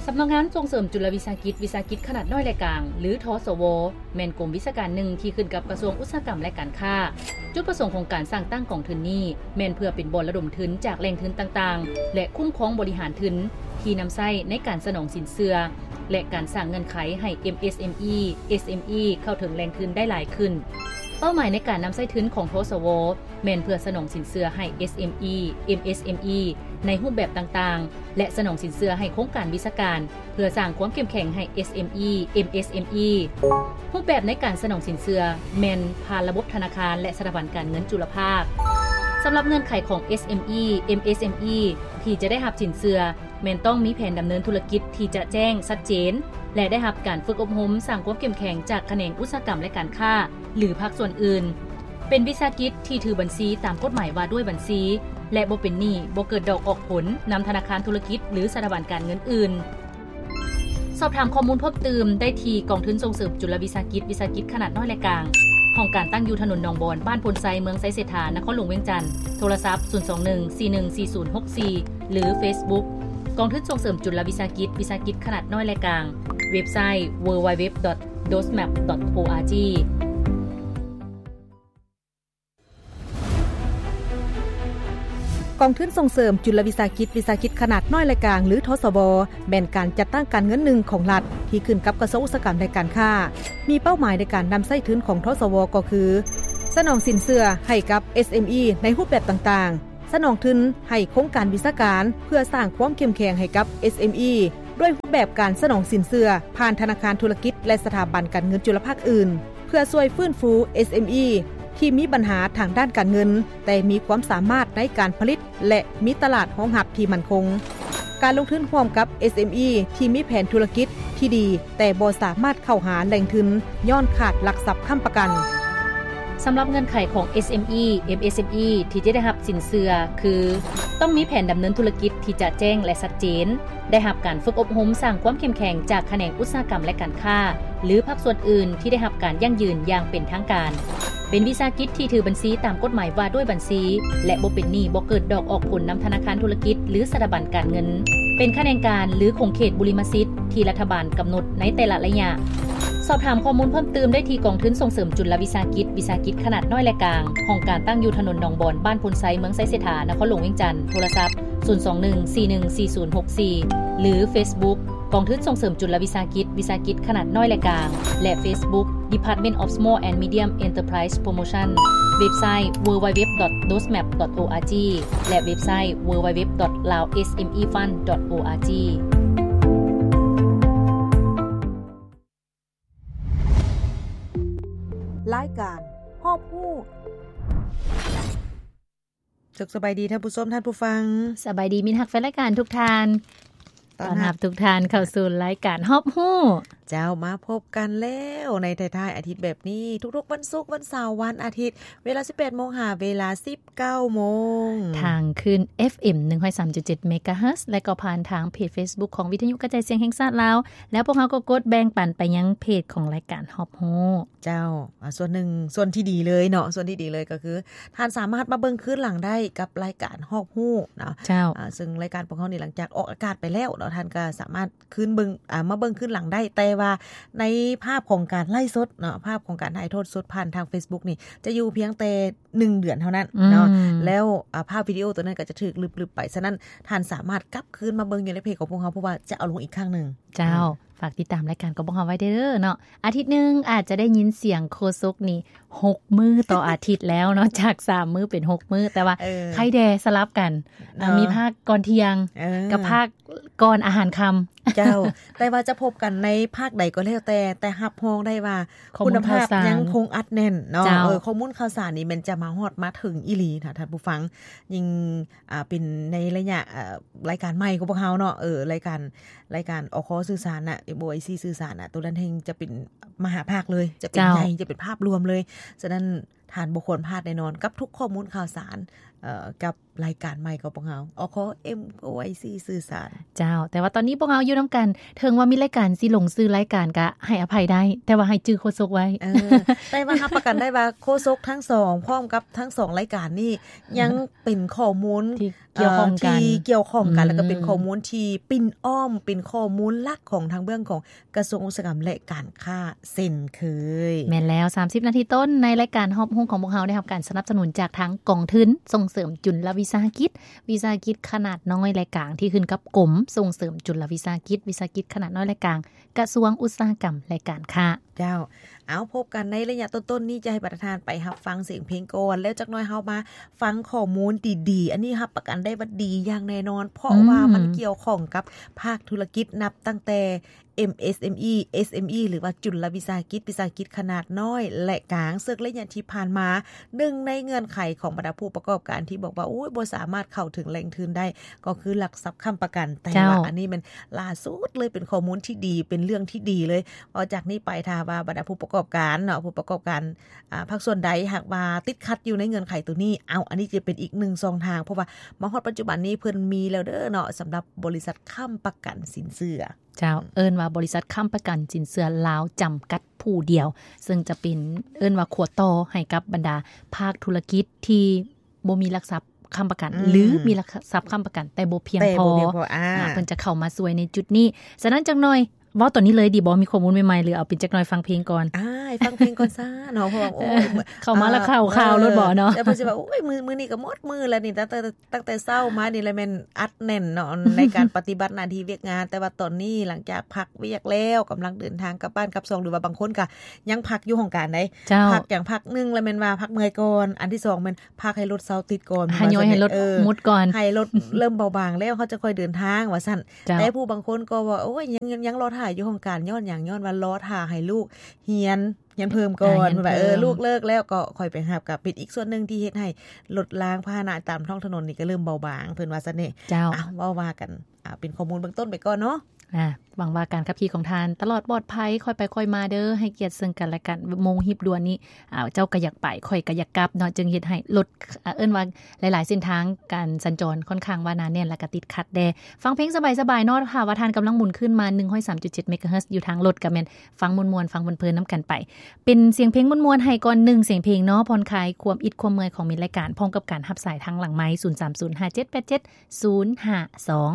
ສຳນັກງານສົ່ງເສີມຈຸລະວິສາຫະກິດ, ວິສາຫະກິດຂະໜາດນ້ອຍ ແລະ ກາງ ຫຼື ທສວ ແມ່ນກົມວິຊາການໜຶ່ງທີ່ຂຶ້ນກັບກະຊວງອຸດສາຫະກຳ ແລະ ການຄ້າ. ຈຸດປະສົງຂອງການສ້າງຕັ້ງກອງທຶນນີ້ ແມ່ນເພື່ອເປັນບ່ອນລະດົມທຶນຈາກແຫຼ່ງທຶນຕ່າງໆ ແລະ ຄຸ້ມຄອງບໍລິຫານທຶນທີ່ນຳໃຊ້ໃນການສະໜອງສິນເຊື່ອ ແລະ ການສ້າງເງື່ອນໄຂໃຫ້ ເອັມເອສເອັມອີ ເອສເອັມອີ ເຂົ້າເຖິງແຫຼ່ງທຶນໄດ້ຫຼາຍຂຶ້ນ. ເປົ້າໝາຍໃນການນຳໃຊ້ທຶນຂອງ ທສວ ແມ່ນເພື່ອສະໜອງສິນເຊື່ອໃຫ້ ເອສເອັມອີ ເອັມເອສເອັມອີ ໃນຮູບແບບຕ່າງໆ ແລະ ສະໜອງສິນເຊື່ອໃຫ້ໂຄງການວິຊາການ ເພື່ອສ້າງຄວາມເຂັ້ມແຂງໃຫ້ ເອສເອັມອີ ເອັມເອສເອັມອີ. ຮູບແບບໃນການສະໜອງສິນເຊື່ອແມ່ນຜ່ານລະບົບທະນາຄານ ແລະ ສະຖາບັນການເງິນຈຸລະພາກ. ສຳລັບເງື່ອນໄຂຂອງ ເອສເອັມອີ ເອັມເອສເອັມອີ ທີ່ຈະໄດ້ຮັບສິນເຊື່ອ ແມ່ນຕ້ອງມີແຜນດຳເນີນທຸລະກິດທີ່ຈະແຈ້ງ, ຊັດເຈນ ແລະ ໄດ້ຮັບການຝຶກອົບຮົມສ້າງຄວາມເຂັ້ມແຂງຈາກຂະແໜງອຸດສາຫະກຳ ແລະ ການຄ້າ ຫຼື ພາກສ່ວນອື່ນ, ເປັນວິສາຫະກິດທີ່ຖືບັນຊີຕາມກົດໝາຍວ່າດ້ວຍບັນຊີ ແລະ ບໍ່ເປັນໜີ້, ບໍ່ເກີດດອກອອກຜົນນຳທະນາຄານທຸລະກິດ ຫຼື ສະຖາບັນການເງິນອື່ນ. ສອບຖາມຂໍ້ມູນເພີ່ມຕື່ມໄດ້ທີ່ກອງທຶນສົ່ງເສີມຈຸລະວິສາຫະກິດ, ວິສາຫະກິດຂະໜາດນ້ອຍ ແລະ ກາງ, ຫ້ອງການຕັ້ງຢູ່ຖະໜົນໜອງບອນ, ບ້ານໂພນໄຊ, ເມືອງໄຊເສດຖາ, ນະຄອນຫຼວງວຽງຈັນ, ໂທລະສັບ ສູນສອງໜຶ່ງ ສີ່ໜຶ່ງສີ່ສູນຫົກສີ່ ຫຼື ເຟສບຸກ ກອງທຶນສົ່ງເສີມຈຸລະວິສາຫະກິດ, ວິສາຫະກິດຂະໜາດນ້ອຍ ແລະ ກາງ, ເວັບໄຊ www.dosmap.org. ກອງທຶນສົ່ງເສີມຈຸລະວິສາຫະກິດ, ວິສາຫະກິດຂະໜາດນ້ອຍ ແລະ ກາງ ຫຼື ທສວ ແມ່ນການຈັດຕັ້ງການເງິນໜຶ່ງຂອງລັດ ທີ່ຂຶ້ນກັບກະຊວງອຸດສາຫະກຳ ແລະ ການຄ້າ. ມີເປົ້າໝາຍໃນການນຳໃຊ້ທຶນຂອງ ທສວ ກໍຄື ສະໜອງສິນເຊື່ອໃຫ້ກັບ ເອສເອັມອີ ໃນຮູບແບບຕ່າງໆ, ສະໜອງທຶນໃຫ້ໂຄງການວິຊາການ ເພື່ອສ້າງຄວາມເຂັ້ມແຂງໃຫ້ກັບ ເອສເອັມອີ ດ້ວຍຮູບແບບການສະໜອງສິນເຊື່ອຜ່ານທະນາຄານທຸລະກິດ ແລະ ສະຖາບັນການເງິນຈຸລະພາກອື່ນ. ເພື່ອຊ່ວຍຟື້ນຟູ ເອສເອັມອີ ທີ່ມີບັນຫາທາງດ້ານການເງິນ ແຕ່ມີຄວາມສາມາດໃນການຜະລິດ ແລະ ມີຕະຫຼາດຮອງຮັບທີ່ໝັ້ນຄົງ. ການລົງທຶນຮ່ວມກັບ ເອສເອັມອີ ທີ່ມີແຜນທຸລະກິດທີ່ດີ ແຕ່ບໍ່ສາມາດເຂົ້າຫາແຫຼ່ງທຶນຍ້ອນຂາດຫຼັກຊັບຄ້ຳປະກັນ. ສຳລັບເງື່ອນໄຂຂອງ ເອສເອັມອີ ເອັມເອສເອັມອີ ທີ່ຈະໄດ້ຮັບສິນເຊື່ອຄື ຕ້ອງມີແຜນດຳເນີນທຸລະກິດທີ່ຈະແຈ້ງ ແລະ ຊັດເຈນ, ໄດ້ຮັບການຝຶກອົບຮົມສ້າງຄວາມເຂັ້ມແຂງຈາກຂະແໜງອຸດສາຫະກຳ ແລະ ການຄ້າ ຫຼື ພາກສ່ວນອື່ນທີ່ໄດ້ຮັບການຢັ້ງຢືນຢ່າງເປັນທາງການ, ເປັນວິສາຫະກິດທີ່ຖືບັນຊີຕາມກົດໝາຍວ່າດ້ວຍບັນຊີ ແລະ ບໍ່ເປັນໜີ້, ບໍ່ເກີດດອກອອກຜົນນຳທະນາຄານທຸລະກິດ ຫຼື ສະຖາບັນການເງິນ, ເປັນຂະແໜງການ ຫຼື ຂົງເຂດບຸລິມະສິດທີ່ລັດຖະບານກຳນົດໃນແຕ່ລະໄລຍະ. ສອບຖາມຂໍ້ມູນເພີ່ມຕື່ມໄດ້ທີ່ກອງທຶນສົ່ງເສີມຈຸລະວິສາຫະກິດ, ວິສາຫະກິດຂະໜາດນ້ອຍ ແລະ ກາງ, ຫ້ອງການຕັ້ງຢູ່ຖະໜົນໜອງບອນ, ບ້ານໂພນໄຊ, ເມືອງໄຊເສດຖາ, ນະຄອນຫຼວງວຽງຈັນ, ໂທລະສັບ ສູນສອງໜຶ່ງ ສີ່ໜຶ່ງສີ່ສູນຫົກສີ່ ຫຼື ເຟສບຸກ ກອງທຶນສົ່ງເສີມຈຸລະວິສາຫະກິດ, ວິສາຫະກິດຂະໜາດນ້ອຍ ແລະ ກາງ ແລະ ເຟສບຸກ Department of Small and Medium Enterprise Promotion, ເວັບໄຊ www.dosmap.org ແລະ ເວັບໄຊ www.laosmefund.org. ລາຍການຮອບຮູ້. ສຸກສະບາຍດີທ່ານຜູ້ຊົມ, ທ່ານຜູ້ຟັງ. ສະບາຍດີມິດຮັກແຟນລາຍການທຸກທ່ານ. ຕ້ອນຮັບ ຕ້ອນຮັບທຸກທ່ານເຂົ້າສູ່ລາຍການຮອບຮູ້. ເຈົ້າ, ມາພົບກັນແລ້ວໃນທ້າຍໆອາທິດແບບນີ້, ທຸກໆວັນສຸກ, ວັນເສົາ, ວັນອາທິດ, ເວລາສິບແປດໂມງຫາເວລາສິບເກົ້າໂມງ ທາງຄື້ນ ເອັຟເອັມ ໜຶ່ງຮ້ອຍສາມຈຸດເຈັດເມກາເຮີດ ແລະ ກໍຜ່ານທາງເພຈເຟສບຸກຂອງວິທະຍຸກະຈາຍສຽງແຫ່ງຊາດລາວ, ແລ້ວພວກເຮົາກໍກົດແບ່ງປັນໄປຍັງເພຈຂອງລາຍການຮອບຮູ້. ເຈົ້າ, ອາ, ສ່ວນໜຶ່ງ, ສ່ວນທີ່ດີເລີຍເນາະ, ສ່ວນທີ່ດີເລີຍກໍຄື ທ່ານສາມາດມາເບິ່ງຄືນຫຼັງໄດ້ກັບລາຍການຮອບຮູ້ເນາະ. ເຈົ້າ. ອາ, ເຊິ່ງລາຍການພວກເຮົານີ້ ຫຼັງຈາກອອກອາກາດໄປແລ້ວເນາະ, ທ່ານກໍສາມາດຄືນເບິ່ງ, ອາ, ມາເບິ່ງຄືນຫຼັງໄດ້, ແຕ່ວ່າໃນພາບຂອງການໄລຟ໌ສົດເນາະ, ພາບຂອງການຖ່າຍທອດສົດຜ່ານທາງເຟສບຸກນີ້ ຈະຢູ່ພຽງແຕ່ໜຶ່ງເດືອນເທົ່ານັ້ນເນາະ. ອືມ. ແລ້ວ, ອາ, ພາບວິດີໂອຕົວນັ້ນກໍຈະຖືກລຶບໆໄປ, ສະນັ້ນທ່ານສາມາດກັບຄືນມາເບິ່ງຢູ່ໃນເພຈຂອງພວກເຮົາ, ເພາະວ່າຈະເອົາລົງອີກຄັ້ງໜຶ່ງ. ເຈົ້າ. ອືມ. ຝາກຕິດຕາມລາຍການຂອງພວກເຮົາໄວ້ເດີ້ເນາະ. ອາທິດໜຶ່ງອາດຈະໄດ້ຍິນສຽງໂຄສົກນີ້ຫົກມື້ຕໍ່ອາທິດແລ້ວເນາະ, ຈາກສາມມື້ເປັນຫົກມື້, ແຕ່ວ່າ ເອີ ໃຄແດ່ສະຫຼັບກັນ, ເນາະ. ມີພາກກ່ອນທ່ຽງ ເອີ ກັບພາກກ່ອນອາຫານຄ່ຳ. ເຈົ້າ. ແຕ່ວ່າຈະພົບກັນໃນພາກໃດກໍແລ້ວແຕ່, ແຕ່ຮັບຮອງໄດ້ວ່າ ຂໍ້ມູນ ຄຸນນະພາບ ຂ່າວສານ ຍັງຄົງອັດແໜ້ນເນາະ. ເຈົ້າ. ເອີ ຂໍ້ມູນຂ່າວສານນີ້ແມ່ນຈະມາຮອດມາເຖິງອີ່ຫຼີນະ ທ່ານຜູ້ຟັງ. ຍິ່ງ ອ່າ ເປັນໃນໄລຍະ ເອີ ລາຍການໃໝ່ຂອງພວກເຮົາເນາະ, ເອີ ລາຍການ, ລາຍການ ອຄ ສື່ສານນະ, ເອັມ ໂອ ໄອ ຊີ ສື່ສານນະ, ໂຕນັ້ນແຮ່ງຈະເປັນມະຫາພາກເລີຍ, ຈະເປັນ ເຈົ້າ ໃຫຍ່, ຈະເປັນພາບລວມເລີຍ. ສະນັ້ນ ທ່ານບໍ່ຄວນພາດແນ່ນອນກັບທຸກຂໍ້ມູນຂ່າວສານ ເອີ ກັບລາຍການໃໝ່ຂອງພວກເຮົາ ອຄ ເອັມໂອໄອຊີ ສື່ສານ. ເຈົ້າ, ແຕ່ວ່າຕອນນີ້ພວກເຮົາຢູ່ນຳກັນ ເຖິງວ່າມີລາຍການຊິຫຼົງຊື່ລາຍການກະໃຫ້ອະໄພໄດ້ ແຕ່ວ່າໃຫ້ຈື່ໂຄສົກໄວ້. ເອີ ແຕ່ວ່າຮັບປະກັນໄດ້ວ່າໂຄສົກທັງສອງ ພ້ອມກັບທັງສອງລາຍການນີ້ ຍັງເປັນຂໍ້ມູນທີ່ກ່ຽວຂ້ອງກັນ ເອີ ທີ່ກ່ຽວຂ້ອງກັນ ອືມ ແລ້ວກໍເປັນຂໍ້ມູນທີ່ປິ່ນອ້ອມ ເປັນຂໍ້ມູນຫຼັກຂອງທາງເບື້ອງຂອງ ກະຊວງອຸດສາຫະກຳ ແລະ ການຄ້າເຊັ່ນເຄີຍ. ແມ່ນແລ້ວ, ສາມສິບນາທີຕົ້ນ ໃນລາຍການຮອບຮູ້ຂອງພວກເຮົາໄດ້ຮັບການສະໜັບສະໜູນຈາກທາງກອງທຶນສົ່ງເສີມຈຸນລະວິສາຫະກິດ, ວິສາຫະກິດຂະໜາດນ້ອຍ ແລະ ກາງ ທີ່ຂຶ້ນກັບກົມສົ່ງເສີມຈຸນລະວິສາຫະກິດ, ວິສາຫະກິດຂະໜາດນ້ອຍ ແລະ ກາງ ກະຊວງອຸດສາຫະກຳ ແລະ ການຄ້າ. ເຈົ້າ. ເອົາ, ພົບກັນໃນໄລຍະຕົ້ນໆນີ້ ຈະໃຫ້ບັນດາທ່ານໄປຮັບຟັງສຽງເພງກ່ອນ ແລ້ວຈັກໜ້ອຍເຮົາມາຟັງຂໍ້ມູນດີໆ. ອັນນີ້ຮັບປະກັນໄດ້ວ່າດີຢ່າງແນ່ນອນ ເພາະ ອືມ ວ່າມັນກ່ຽວຂ້ອງກັບພາກທຸລະກິດ ນັບຕັ້ງແຕ່ ເອັມເອສເອັມອີ ເອສເອັມອີ ຫຼືວ່າຈຸນລະວິສາຫະກິດ, ວິສາຫະກິດຂະໜາດນ້ອຍ ແລະ ກາງ ເຊິ່ງໄລຍະທີ່ຜ່ານມາ ໜຶ່ງໃນເງື່ອນໄຂຂອງບັນດາຜູ້ປະກອບການທີ່ບອກວ່າ ໂອ້ຍ ບໍ່ສາມາດເຂົ້າເຖິງແຫຼ່ງທຶນໄດ້ ກໍຄືຫຼັກຊັບຄ້ຳປະກັນ. ແຕ່ ເຈົ້າ ວ່າອັນນີ້ແມ່ນລ່າສຸດເລີຍ ເປັນຂໍ້ມູນທີ່ດີ ເປັນເລື່ອງທີ່ດີເລີຍ. ເພາະຈາກນີ້ໄປ ຖ້າວ່າບັນດາຜູ້ປະກອບການເນາະ ຜູ້ປະກອບການ ອາ ພາກສ່ວນໃດຫາກວ່າຕິດຂັດຢູ່ໃນເງື່ອນໄຂໂຕນີ້ ເອົາ ອັນນີ້ຈະເປັນອີກໜຶ່ງຊ່ອງທາງ ເພາະວ່າມາຮອດປັດຈຸບັນນີ້ເພິ່ນມີແລ້ວເດີເນາະ ສຳລັບບໍລິສັດຄ້ຳປະກັນສິນເຊື່ອ. ເຈົ້າ, ເອີ້ນວ່າບໍລິສັດຄ້ຳປະກັນສິນເຊື່ອລາວຈຳກັດຜູ້ດຽວ ເຊິ່ງຈະເປັນ ເອີ້ນວ່າຂົວຕໍ່ໃຫ້ກັບບັນດາພາກທຸລະກິດທີ່ບໍ່ມີຫຼັກຊັບຄ້ຳປະກັນ ອືມ ຫຼື ມີຫຼັກຊັບຄ້ຳປະກັນແຕ່ບໍ່ພຽງພໍ ແຕ່ບໍ່ພຽງພໍ ອາ ອາ ເພິ່ນຈະເຂົ້າມາຊ່ວຍໃນຈຸດນີ້. ສະນັ້ນ ຈັກໜ້ອຍ ເວົ້າຕອນນີ້ເລີຍດີບໍ່? ມີຂໍ້ມູນໃໝ່ໆ ຫຼື ເອົາເປັນຈັກໜ້ອຍຟັງເພງກ່ອນ? ອ້າຍ ຟັງເພງກ່ອນຊະເນາະ ເພາະວ່າ ໂອ້ຍ ເອີ ເຂົ້າມາແລ້ວ ເອີ ຂ່າວໆ ໂລດບໍ່ເນາະ? ເອີ ແຕ່ເພິ່ນຊິວ່າ ໂອ້ຍ ມື້ ມື້ນີ້ກໍໝົດມື້ແລ້ວນີ້ ຕັ້ງແຕ່ ຕັ້ງແຕ່ເຊົ້າມານີ້ລະແມ່ນອັດແໜ້ນເນາະ ໃນການປະຕິບັດໜ້າທີ່ວຽກງານ. ແຕ່ວ່າຕອນນີ້ ຫຼັງຈາກພັກວຽກແລ້ວ ກຳລັງເດີນທາງກັບບ້ານກັບຊ່ອງ ຫຼືວ່າບາງຄົນກໍຍັງພັກຢູ່ຫ້ອງການໃດ໋. ເຈົ້າ. ພັກຫຍັງ ພັກໜຶ່ງລະແມ່ນວ່າພັກເມື່ອຍກ່ອນ, ອັນທີສອງແມ່ນ ພັກໃຫ້ລົດເຊົາຕິດກ່ອນ ຫາຍ້ອຍໃຫ້ລົດ ເອີ ໝົດກ່ອນ ໃຫ້ລົດເລີ່ມເບົາບາງແລ້ວ ເຮົາຈະຄ່ອຍເດີນທາງ ວ່າຊັ້ນ. ເຈົ້າ. ແຕ່ຜູ້ບາງຄົນກໍວ່າ ໂອ້ຍ ຍັງ ຍັງລໍຖ້າຢູ່ຫ້ອງການ ຍ້ອນຫຍັງ? ຍ້ອນວ່າລໍຖ້າໃຫ້ລູກຮຽນ ຮຽນເພີ່ມກ່ອນ ເອີ ຮຽນເພີ່ມ ວ່າ ເອີ ລູກເລີກແລ້ວກໍຄ່ອຍໄປຮັບ ກໍເປັນອີກສ່ວນໜຶ່ງທີ່ເຮັດໃຫ້ລົດລາງພາຫະນະຕາມທ້ອງຖະໜົນນີ້ກໍເລີ່ມເບົາບາງ ເພິ່ນວ່າຊັ້ນເດ. ເຈົ້າ. ອ່ະ ເວົ້າວ່າກັນ ອ່າ ເປັນຂໍ້ມູນເບື້ອງຕົ້ນໄປກ່ອນເນາະ. ອ່າ ຫວັງວ່າການຂັບຂີ່ຂອງທ່ານຕະຫຼອດປອດໄພ, ຄ່ອຍໄປຄ່ອຍມາເດີ, ໃຫ້ກຽດເຊິ່ງກັນແລະກັນ. ໂມງຮີບດ່ວນນີ້ ອ່າ ເຈົ້າກໍຢາກໄປ, ຂ້ອຍກໍຢາກກັບເນາະ, ຈຶ່ງເຮັດໃຫ້ລົດ ອ່າ ເອີ້ນວ່າຫຼາຍໆເສັ້ນທາງການສັນຈອນຄ່ອນຂ້າງວ່າໜາແໜ້ນ ແລະກໍຕິດຂັດແດ່. ຟັງເພງສະບາຍໆເນາະ, ຖ້າວ່າທ່ານກຳລັງໝູນຂຶ້ນມາ ໜຶ່ງຮ້ອຍສາມຈຸດເຈັດ ເມກາເຮີດ ຢູ່ທາງລົດ ກໍແມ່ນຟັງມ່ວນໆ ຟັງເພີນໆນຳກັນໄປ. ເປັນສຽງເພງມ່ວນໆໃຫ້ກ່ອນໜຶ່ງສຽງເພງເນາະ, ຜ່ອນຄາຍຄວາມອິດຄວາມເມື່ອຍຂອງມິດລາຍການ ພ້ອມກັບການຮັບສາຍທາງຫຼັງໄມ ສູນສາມສູນ ຫ້າເຈັດແປດເຈັດ ສູນຫ້າສອງ.